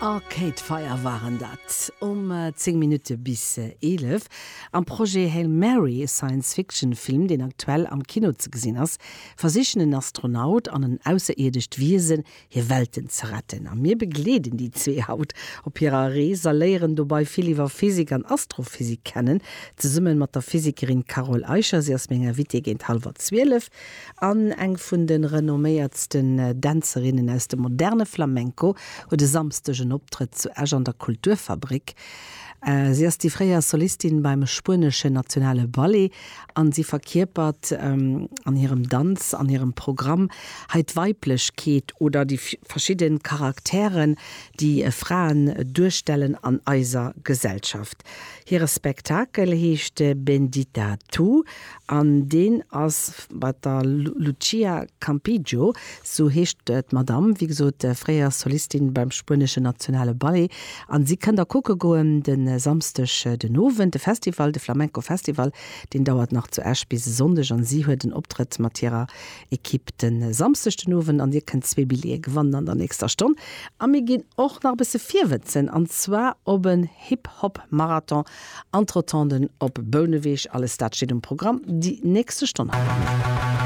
Arcade Fire waren dat um 10 Minutte bis 11. Am Projet Hail Mary, e Science-Fiction-Film, deen aktuell am Kino ze gesinn ass, versichen en Astronaut an en ausserierdescht Wiesen hir Welten ze retten. A mir begleeden déi zwee haut op hirer Rees a léieren dobei vill iwwer Physik an Astrophysik kennen, zesummen mat der Physikerin Carole Eicher. Si ass meng Invitée géint hallwer 12. An eng vun de renomméiertsten Dänzerinnen aus dem moderne Flamenco huet e Samsdeg en Optrëtt zu Esch an der Kulturfabrik. Si ass déi fréier Solistin beim spueneschen Nationale Ballet an si verkierpert an hirem Danz, an hirem Programm hei d'Weiblechkeet oder déi verschidde Charakteren, déi Fraen duerstellen an eiser Gesellschaft. Hire Spektakel heescht Bendita Tu An deen ass mat der Lucia Campillo, sou heescht d'Madamm, wéi gesot fréier Solistin beim spueneschen Nationale Ballet. An si kënnt der kucke goen de Samsdeg den Owend. De Festival, de Flamenco Festival, deen dauert nach zu Esch bis e Sonndeg an si huet en Optrëtt mat hirer Equipe de Samsdeg den Owend an dir kënnt zwee Billjeeë gewannen an der nächster Stonn. A mir ginn och nach e bësse virwëtzen an zwar op en Hip Hop Marathon An d'Rotonden op Bouneweg, alles dat steet um Programm déi nächste Stonn.